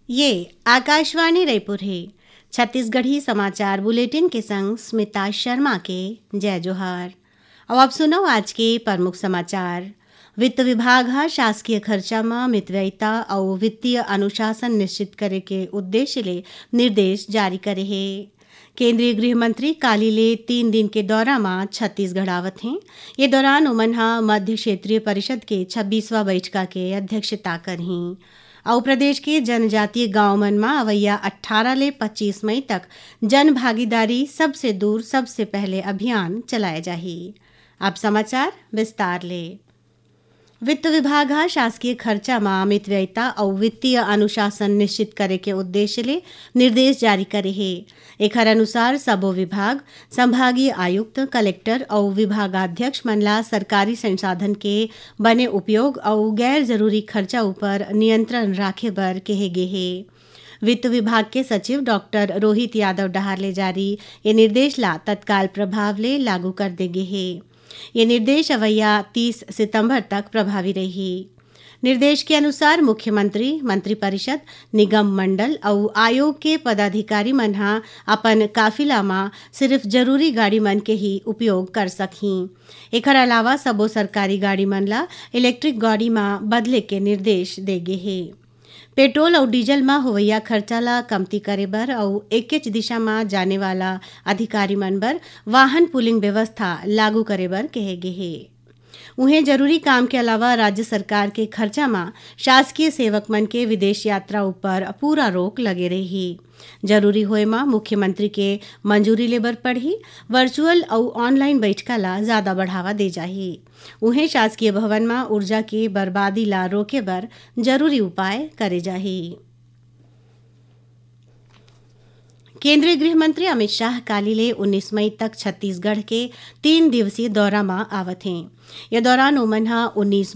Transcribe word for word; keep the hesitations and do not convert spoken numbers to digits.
ये आकाशवाणी रायपुर हे। छत्तीसगढ़ी समाचार बुलेटिन के संग स्मिता शर्मा के जय जोहार। अब आप सुनव आज के प्रमुख समाचार। वित्त विभाग ह शासकीय खर्चा म मितव्ययिता अउ वित्तीय अनुशासन निश्चित करे के उद्देश्य ले निर्देश जारी करे हे। केंद्रीय गृह मंत्री काली ले तीन दिन के दौरा म छत्तीसगढ़ आवत हें। ये दौरान ओमन ह मध्य क्षेत्रीय परिषद के छब्बीसवाँ बइठका के अध्यक्षता करहीं अउ प्रदेश के जनजातीय गांव मन म अवइया अट्ठारह ले पच्चीस मई तक जन भागीदारी सबसे दूर सबसे पहले अभियान चलाए जाही। अब समाचार विस्तार ले। वित्त विभाग ह शासकीय खर्चा म मितव्ययिता अउ वित्तीय अनुशासन निश्चित करे के उद्देश्य ले निर्देश जारी करे हे। एखर अनुसार सबो विभाग, संभागीय आयुक्त, कलेक्टर अउ विभागाध्यक्ष मन ला सरकारी संसाधन के बने उपयोग अउ गैर जरूरी खर्चा उपर नियंत्रण राखे बर केहे गे हे। वित्त विभाग के सचिव डॉक्टर रोहित यादव डहार ले जारी ये निर्देश ला तत्काल प्रभाव ले लागू कर दे गे हे। ये निर्देश अवइया तीस सितंबर तक प्रभावी रही। निर्देश के अनुसार मुख्यमंत्री, मंत्रिपरिषद, निगम मंडल अउ आयोग के पदाधिकारी मन ह अपन काफिला म सिर्फ जरूरी गाड़ी मन के ही उपयोग कर सकहीं। एखर अलावा सबो सरकारी गाड़ी मन ला इलेक्ट्रिक गाड़ी म बदले के निर्देश दे गे हे। पेट्रोल अउ डीजल म होवइया खर्चा ला कमती करे बर अउ एकेच दिशा म जाने वाला अधिकारी मन बर वाहन पूलिंग व्यवस्था लागू करे बर कहे गे हे। उहें, जरूरी काम के अलावा राज्य सरकार के खर्चा म शासकीय सेवक मन के विदेश यात्रा ऊपर पूरा रोक लगे रही। जरूरी होए म मुख्यमंत्री के मंजूरी लेबर पड़ही। वर्चुअल अउ ऑनलाइन बैठका ला ज्यादा बढ़ावा दे जाही। उहें, शासकीय भवन म ऊर्जा के बर्बादी ला रोके बर जरूरी उपाय करे जाही। केंद्रीय गृह मंत्री अमित शाह काली ले उन्नीस मई तक छत्तीसगढ़ के तीन दिवसीय दौरा म आवत हें। ये दौरान ओमन ह उन्नीस मई